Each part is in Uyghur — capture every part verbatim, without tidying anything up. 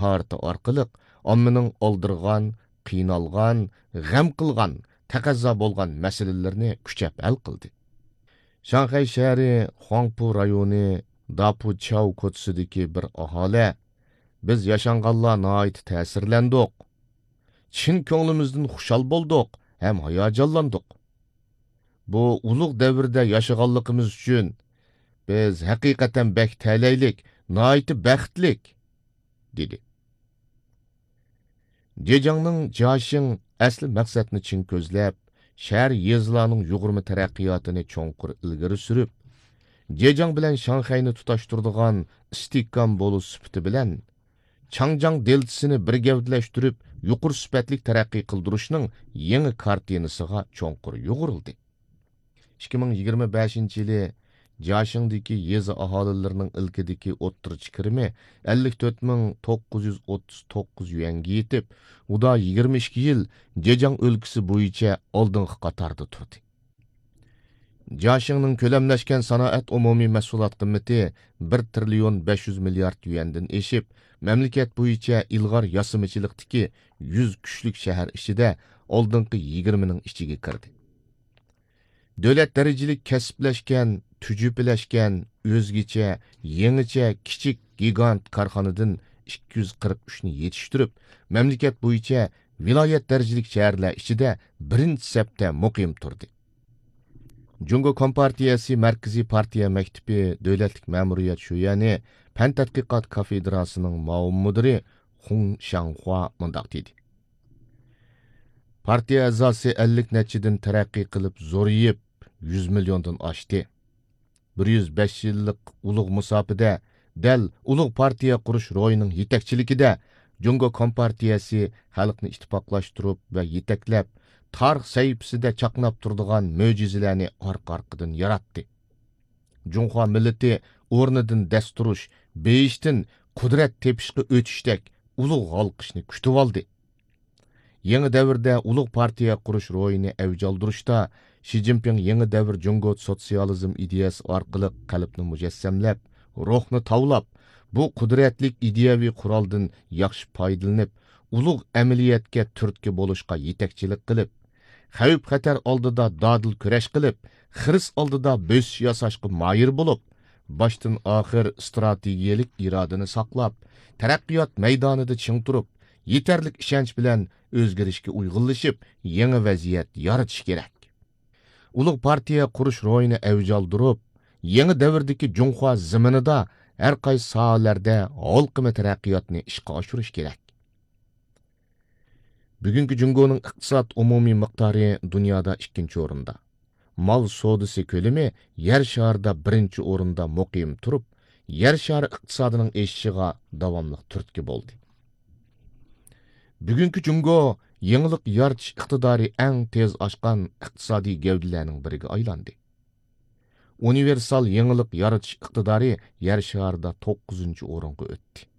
تىجارىتى ئارقىلىق ئاممىنىڭ ئالدىرىغان، قىينالغان، غەم قىلغان، تەقەززا بولغان مەسىلىلىرىنى كۈچەپ ھەل قىلدى. شاڭخەي شەھىرى خۇاڭپۇ رايونى داپۇچياۋ كوچىسىدىكى بىر ئاھالە، بىز ياشانغانلار ناھايىتى تەسىرلەندۇق. چىن كۆڭلىمىزدىن خۇشال بولدۇق ھەم ھاياجانلاندۇق. بۇ ئۇلۇغ دەۋردە ياشىغانلىقىمىز ئۈچۈن بىز ھەقىقەتەن بەك تەلەيلىك، ناھايىتى بەختلىك، دېدى. جېجياڭنىڭ جياشىڭ ئەسلى مەقسەتنى چىڭ كۆزلەپ، شەھەر، يېزىلارنىڭ يۇغۇرما تەرەققىياتىنى چوڭقۇر ئىلگىرى سۈرۈپ، جېجياڭ بىلەن شاڭخەينى تۇتاشتۇرىدىغان ئىستىھكام بولۇش سۈپىتى بىلەن، چاڭجياڭ دېلتىسىنى بىر گەۋدىلەشتۈرۈپ، يۇقىرى سۈپەتلىك تەرەققىي قىلدۇرۇشنىڭ يېڭى كارتىنىسىغا چوڭقۇر يۇغۇرۇلدى. ئىككى مىڭ يىگىرمە بەشىنچى يىلى جياشىڭدىكى يېزا ئاھالىلىرىنىڭ ئىلكىدىكى ئوتتۇرىچە كىرىمى ئەللىك تۆت مىڭ توققۇز يۈز ئوتتۇز توققۇز يۈەنگە يېتىپ، ئۇدا يىگىرمە ئىككى يىل جېجياڭ ئۆلكىسى بويىچە ئالدىنقى قاتاردا تۇردى. جياشىڭنىڭ كۆلەملەشكەن سانائەت ئومۇمىي مەھسۇلات قىممىتى بىر تىرىليون بەش يۈز مىليارد يۈەندىن ئېشىپ، مەملىكەت بويىچە ئىلغار ياسىمىچىلىقتىكى يۈز كۈچلۈك شەھەر ئىچىدە ئالدىنقى يىگىرمىنىڭ ئىچىگە كىردى. دۆلەت دەرىجىلىك كەسىپلەشكەن، تۈجۈپىلەشكەن، ئۆزگىچە، يېڭىچە، كىچىك، گىگانت كارخانىدىن ئىككى يۈز قىرىق ئۈچنى يېتىشتۈرۈپ، مەملىكەت بويىچە ۋىلايەت دەرىجىلىك شەھەرلەر ئىچىدە بىرىنچى سەپتە مۇقىم تۇردى. جۇڭگو كومپارتىيەسى مەركىزىي پارتىيە مەكتىپى دۆلەتلىك مەمۇرىيەت شۆيەنى پەن تەتقىقات كافېدراسىنىڭ مۇئاۋىن مۇدىرى خۇڭ شياڭخۇا مۇنداق دېدى: پارتىيە ئەزاسى ئەللىك نەچچىدىن تەرەققىي قىلىپ زورىيىپ، يۈز مىليوندىن ئاشتى. بىر يۈز بەش يىللىق ئۇلۇغ مۇساپىدە دەل ئۇلۇغ پارتىيە قۇرۇش روھىنىڭ يېتەكچىلىكىدە جۇڭگو كومپارتىيەسى خەلقنى ئىتتىپاقلاشتۇرۇپ ۋە يېتەكلەپ، تارىخ سەھىپىسىدە چاقناپ تۇرىدىغان مۆجىزىلەرنى ئارقا-ئارقىدىن ياراتتى. جۇڭخۇا مىللىتى ئورنىدىن دەس تۇرۇش، بېيىشتىن قۇدرەت تېپىشقا ئۆتۈشتەك ئۇلۇغ ھالقىشنى كۈتۈۋالدى. يېڭى دەۋردە ئۇلۇغ پارتىيە قۇرۇش روھىنى ئەۋج ئالدۇرۇشتا، شى جىنپىڭ يېڭى دەۋر جۇڭگو سوتسىيالىزم ئىدىيەسى ئارقىلىق قەلبنى مۇجەسسەملەپ، روھنى تاۋلاپ، بۇ قۇدرەتلىك ئىدىيەۋى قورالدىن ياخشى پايدىلىنىپ، ئۇلۇغ ئەمەلىيەتكە تۈرتكە بولۇشقا يېتەكچىلىك قىلىپ، خەۋپ-خەتەر ئالدىدا دادىل كۈرەش قىلىپ، خىرىس ئالدىدا بۆسۈش ياساشقا ماھىر بولۇپ، باشتىن-ئاخىر ئىستراتېگىيەلىك ئىرادىنى ساقلاپ، تەرەققىيات مەيدانىدا چىڭ تۇرۇپ، يېتەرلىك ئىشەنچ بىلەن ئۆزگىرىشكە ئۇيغۇنلىشىپ، يېڭى ۋەزىيەت يارىتىش كېرەك. ئۇلۇغ پارتىيە قۇرۇش روھىنى ئەۋج ئالدۇرۇپ، يېڭى دەۋردىكى جۇڭخۇا زېمىنىدا ھەر قايسى ساھەلەردە ھالقىما تەرەققىياتنى ئىشقا ئاشۇرۇش كېرەك. بۈگۈنكى جۇڭگونىڭ ئىقتىساد ئومۇمىي مىقدارى دۇنيادا ئىككىنچى ئورۇندا، مال سودىسى كۆلىمى يەر شارىدا بىرىنچى ئورۇندا مۇقىم تۇرۇپ، يەر شارى ئىقتىسادىنىڭ ئېشىشىغا داۋاملىق تۈرتكە بولدى. بۈگۈنكى جۇڭگو يېڭىلىق يارىتىش ئىقتىدارى ئەڭ تېز ئاشقان ئىقتىسادىي گەۋدىلەرنىڭ بىرىگە ئايلاندى. ئۇنىۋېرسال يېڭىلىق يارىتىش ئىقتىدارى يەر شارىدا توققۇزىنچى ئورۇنغا ئۆتتى.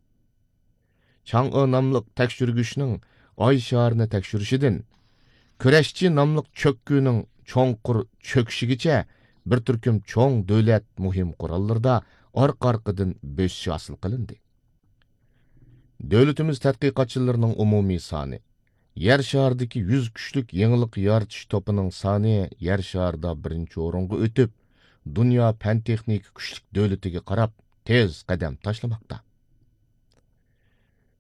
چاڭ ئې ناملىق تەكشۈرگۈچنىڭ ئاي شارىنى تەكشۈرۈشىدىن، كۈرەشچى ناملىق چۆككۈنىڭ چوڭقۇر چۆكۈشىگىچە بىر تۈركۈم چوڭ دۆلەت مۇھىم قوراللىرىدا ئارقا-ئارقىدىن بۆسۈش ھاسىل قىلىندى. دۆلىتىمىز تەتقىقاتچىلىرىنىڭ ئومۇمىي سانى، يەر شارىدىكى يۈز كۈچلۈك يېڭىلىق يارىتىش توپىنىڭ سانى يەر شارىدا بىرىنچى ئورۇنغا ئۆتۈپ، دۇنيا پەن-تېخنىكا كۈچلۈك دۆلىتىگە قاراپ تېز قەدەم تاشلىماقتا.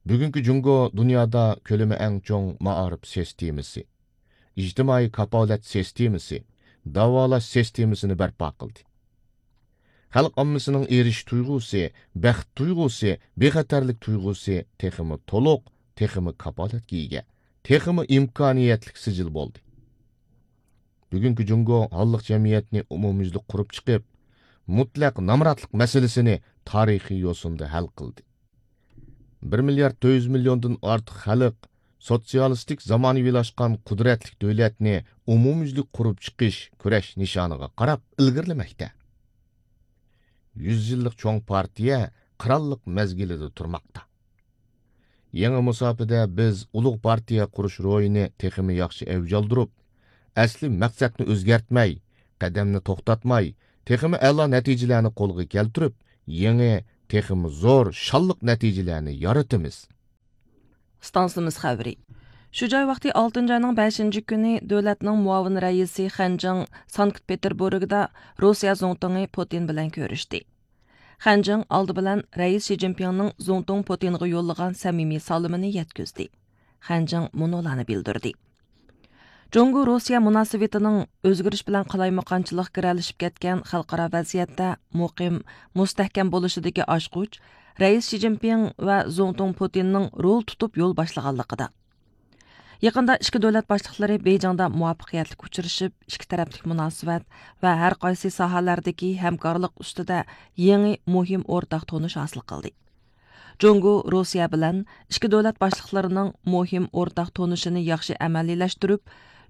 بۈگۈنكى جۇڭگو دۇنيادا كۆلىمى ئەڭ چوڭ مائارىپ سىستېمىسى، ئىجتىمائىي كاپالەت سىستېمىسى، داۋالاش سىستېمىسىنى بەرپا قىلدى. خەلق ئاممىسىنىڭ ئېرىشىش تۇيغۇسى، بەخت تۇيغۇسى، بىخەتەرلىك تۇيغۇسى تېخىمۇ تولۇق، تېخىمۇ كاپالەتكە ئىگە، تېخىمۇ ئىمكانىيەتلىك سىجىل بولدى. بۈگۈنكى جۇڭگو ھاللىق جەمئىيەتنى ئومۇميۈزلۈك قۇرۇپ چىقىپ، مۇتلەق نامراتلىق مەسىلىسىنى تارىخىي يوسۇندا ھەل قىلدى. بىر مىليارد تۆت يۈز مىليوندىن ئارتۇق خەلق سوتسىيالىستىك زامانىۋىلاشقان قۇدرەتلىك دۆلەتنى ئومۇميۈزلۈك قۇرۇپ چىقىش كۈرەش نىشانىغا قاراپ ئىلگىرىلىمەكتە. يۈز يىللىق چوڭ پارتىيە قىرانلىق مەزگىلىدە تۇرماقتا. يېڭى مۇساپىدە بىز ئۇلۇغ پارتىيە قۇرۇش روھىنى تېخىمۇ ياخشى ئەۋج ئالدۇرۇپ، ئەسلى مەقسەتنى ئۆزگەرتمەي، قەدەمنى توختاتماي، تېخىمۇ ئەلا نەتىجىلەرنى قولغا كەلتۈرۈپ، يېڭى، تېخىمۇ زور، شانلىق نەتىجىلەرنى يارىتىمىز. ئىستانسىمىز خەۋىرى. شۇ جاي ۋاقتى ئالتىنچى ئاينىڭ بەشىنچى كۈنى دۆلەتنىڭ مۇئاۋىن رەئىسى خەن جىڭ سانكت پېتېربۇرگدا روسىيە زۇڭتۇڭى پۇتىن بىلەن كۆرۈشتى. خەن جىڭ ئالدى بىلەن رەئىس شى جىنپىڭنىڭ زۇڭتۇڭ پۇتىنغا يوللىغان سەمىمىي سالىمىنى يەتكۈزدى. خەن جىڭ مۇنۇلارنى بىلدۈردى. جۇڭگو روسىيە مۇناسىۋىتىنىڭ ئۆزگىرىش بىلەن قالايمىقانچىلىققا گىرەلىشىپ كەتكەن خەلقئارا ۋەزىيەتتە مۇقىم، مۇستەھكەم بولۇشىدىكى ئاچقۇچ رەئىس شى جىنپىڭ ۋە زۇڭتۇڭ پۇتىننىڭ رول تۇتۇپ يول باشلىغانلىقىدا. يېقىندا ئىككى دۆلەت باشلىقلىرى بېيجىڭدا مۇۋەپپەقىيەتلىك ئۇچرىشىپ، ئىككى تەرەپلىك مۇناسىۋەت ۋە ھەر قايسى ساھەلەردىكى ھەمكارلىق ئۈستىدە يېڭى مۇھىم ئورتاق تونۇش ھاسىل قىلدى. جۇڭگو روسىيە بىلەن ئىككى دۆلەت باشلىقلىرىنىڭ مۇھىم ئورتاق تونۇشىنى ياخشى ئەمەلىيلەشتۈرۈپ،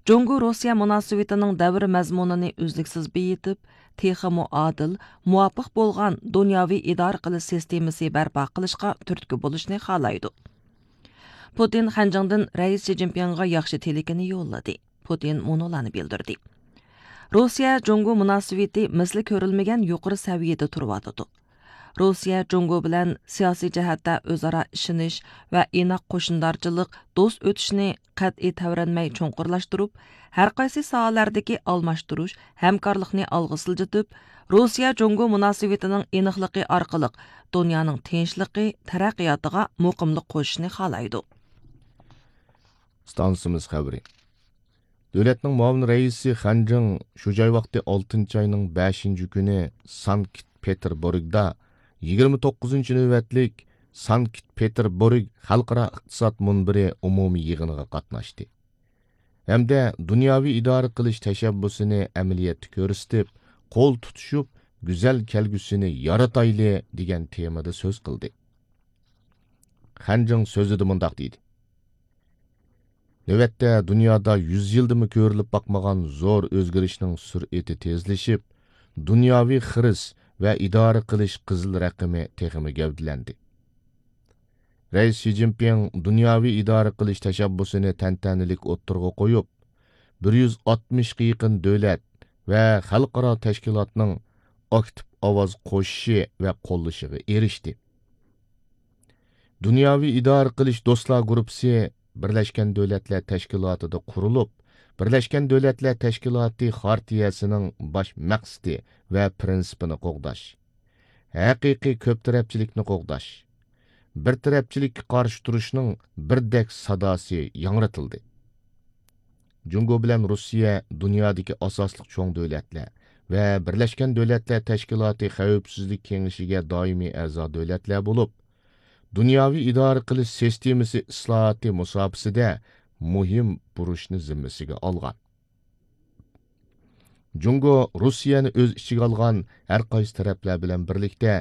جۇڭگو روسىيە مۇناسىۋىتىنىڭ دەۋر مەزمۇنىنى ئۈزلۈكسىز بېيىتىپ، تېخىمۇ ئادىل، مۇۋاپىق بولغان دۇنياۋى ئىدارە قىلىش سىستېمىسى بەرپا قىلىشقا تۈرتكە بولۇشنى خالايدۇ. پۇتىن خەنجىڭدىن رەئىس شى جىنپىڭغا ياخشى تىلىكىنى يوللىدى. پۇتىن مۇنۇلارنى بىلدۈردى. روسىيە جۇڭگو مۇناسىۋىتى مىسلى كۆرۈلمىگەن يۇقىرى سەۋىيەدە تۇرۇۋاتىدۇ. روسىيە جۇڭگو بىلەن سىياسىي جەھەتتە ئۆزئارا ئىشىنىش ۋە ئىناق قوشنىدارچىلىق، دوست ئۆتۈشنى قەتئىي تەۋرەنمەي چوڭقۇرلاشتۇرۇپ، ھەر قايسى ساھەلەردىكى ئالماشتۇرۇش، ھەمكارلىقنى ئالغا سىلجىتىپ، روسىيە جۇڭگو مۇناسىۋىتىنىڭ ئېنىقلىقى ئارقىلىق دۇنيانىڭ تىنچلىقى، تەرەققىياتىغا مۇقىملىق قوشۇشنى خالايدۇ. ئىستانسىمىز خەۋىرى. دۆلەتنىڭ مۇئاۋىن رەئىسى خەن جىڭ شۇ جاي ۋاقتى ئالتىنچى ئاينىڭ بەشىنچى كۈنى سانكت پېتېربۇرگدا يىگىرمە توققۇزىنچى نۆۋەتلىك سانكت پېتېربۇرگ خەلقئارا ئىقتىساد مۇنبىرى ئومۇمىي يىغىنىغا قاتناشتى ھەمدە دۇنياۋى ئىدارە قىلىش تەشەببۇسىنى ئەمەلىيەتتە كۆرسىتىپ، قول تۇتۇشۇپ، گۈزەل كەلگۈسىنى يارىتايلى دېگەن تېمىدا سۆز قىلدى. خەن جىڭ سۆزىدە مۇنداق دېدى. نۆۋەتتە دۇنيادا يۈز يىلدىمۇ كۆرۈلۈپ باقمىغان زور ئۆزگىرىشنىڭ سۈرئىتى تېزلىشىپ، دۇنياۋى خىرىس ۋە ئىدارە قىلىش قىزىل رەقىمى تېخىمۇ گەۋدىلەندى. رەئىس شى جىنپىڭ دۇنياۋى ئىدارە قىلىش تەشەببۇسىنى تەنتەنىلىك ئوتتۇرىغا قويۇپ، بىر يۈز ئاتمىشقا يېقىن دۆلەت ۋە خەلقئارا تەشكىلاتنىڭ ئاكتىپ ئاۋاز قوشۇشى ۋە قوللىشىغا ئېرىشتى. دۇنياۋى ئىدارە قىلىش دوستلار گۇرۇپپىسى بىرلەشكەن دۆلەتلەر تەشكىلاتىدا قۇرۇلۇپ، بىرلەشكەن دۆلەتلەر تەشكىلاتى خارتىيەسىنىڭ باش مەقسىتى ۋە پىرىنسىپىنى قوغداش، ھەقىقىي كۆپ تەرەپچىلىكنى قوغداش، بىر تەرەپچىلىككە قارشى تۇرۇشنىڭ بىردەك ساداسى ياڭرىتىلدى. جۇڭگو بىلەن روسىيە دۇنيادىكى ئاساسلىق چوڭ دۆلەتلەر ۋە بىرلەشكەن دۆلەتلەر تەشكىلاتى خەۋپسىزلىك كېڭىشىگە دائىمىي ئەزا دۆلەتلەر بولۇپ، دۇنياۋى ئىدارە قىلىش سىستېمىسى ئىسلاھاتى مۇساپىسىدە مۇھىم بۇرچنى زىممىسىگە ئالغان. جۇڭگو روسىيەنى ئۆز ئىچىگە ئالغان ھەر قايسى تەرەپلەر بىلەن بىرلىكتە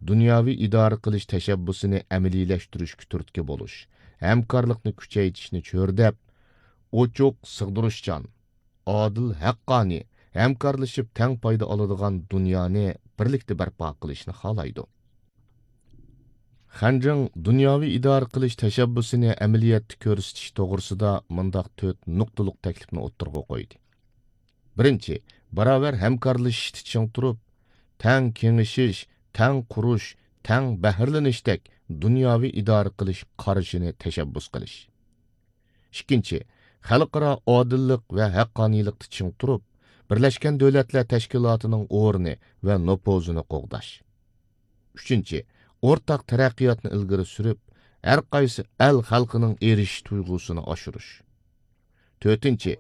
دۇنياۋى ئىدارە قىلىش تەشەببۇسىنى ئەمەلىيلەشتۈرۈشكە تۈرتكە بولۇش، ھەمكارلىقنى كۈچەيتىشنى چۆرىدەپ، ئوچۇق، سىغدۇرۇشچان، ئادىل، ھەققانىي، ھەمكارلىشىپ تەڭ پايدا ئالىدىغان دۇنيانى بىرلىكتە بەرپا قىلىشنى خالايدۇ. خەن جىڭ دۇنياۋى ئىدارە قىلىش تەشەببۇسىنى ئەمەلىيەتتە كۆرسىتىش توغرىسىدا مۇنداق تۆت نۇقتىلىق تەكلىپنى ئوتتۇرىغا قويدى. بىرىنچى، باراۋەر ھەمكارلىشىشتا چىڭ تۇرۇپ، تەڭ كېڭىشىش، تەڭ قۇرۇش، تەڭ بەھرىلىنىشتەك دۇنياۋى ئىدارە قىلىش قارىشىنى تەشەببۇس قىلىش. ئىككىنچى، خەلقئارا ئادىللىق ۋە ھەققانىيلىقتا چىڭ تۇرۇپ، بىرلەشكەن دۆلەتلەر تەشكىلاتىنىڭ ئورنى ۋە نوپۇزىنى قوغداش. ئۈچىنچى، ئورتاق تەرەققىياتنى ئىلگىرى سۈرۈپ، ھەر قايسى ئەل خەلقىنىڭ ئېرىشىش تۇيغۇسىنى ئاشۇرۇش. تۆتىنچى،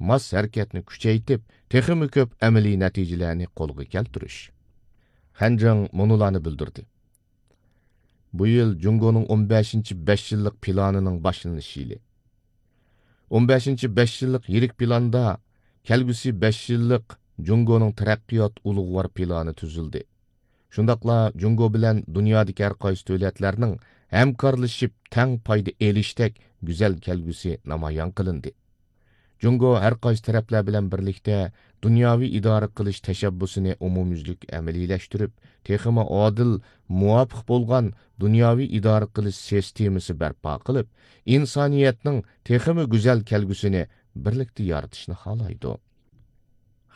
ماس ھەرىكەتنى كۈچەيتىپ، تېخىمۇ كۆپ ئەمەلىي نەتىجىلەرنى قولغا كەلتۈرۈش. خەن جىڭ مۇنۇلارنى بىلدۈردى. بۇ يىل جۇڭگونىڭ ئون بەشىنچى بەش يىللىق پىلانىنىڭ باشلىنىش يىلى. ئون بەشىنچى بەش يىللىق يىرىك پىلاندا كەلگۈسى بەش يىللىق جۇڭگونىڭ تەرەققىيات ئۇلۇغۋار پىلانى تۈزۈلدى. شۇنداقلا جۇڭگو بىلەن دۇنيادىكى ھەر قايسى دۆلەتلەرنىڭ ھەمكارلىشىپ تەڭ پايدا ئېلىشتەك گۈزەل كەلگۈسى نامايان قىلىندى. جۇڭگو ھەر قايسى تەرەپلەر بىلەن بىرلىكتە دۇنياۋى ئىدارە قىلىش تەشەببۇسىنى ئومۇميۈزلۈك ئەمەلىيلەشتۈرۈپ، تېخىمۇ ئادىل، مۇۋاپىق بولغان دۇنياۋى ئىدارە قىلىش سىستېمىسى بەرپا قىلىپ، ئىنسانىيەتنىڭ تېخىمۇ گۈزەل كەلگۈسىنى بىرلىكتە يارىتىشنى خالايدۇ.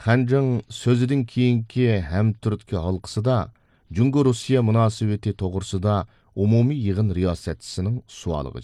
خەن جىڭ سۆزىدىن كېيىنكى ھەمتۈرتكە ھالقىسىدا جۇڭگو روسىيە مۇناسىۋىتى توغرىسىدا ئومۇمىي يىغىن رىياسەتچىسىنىڭ سوئالىغا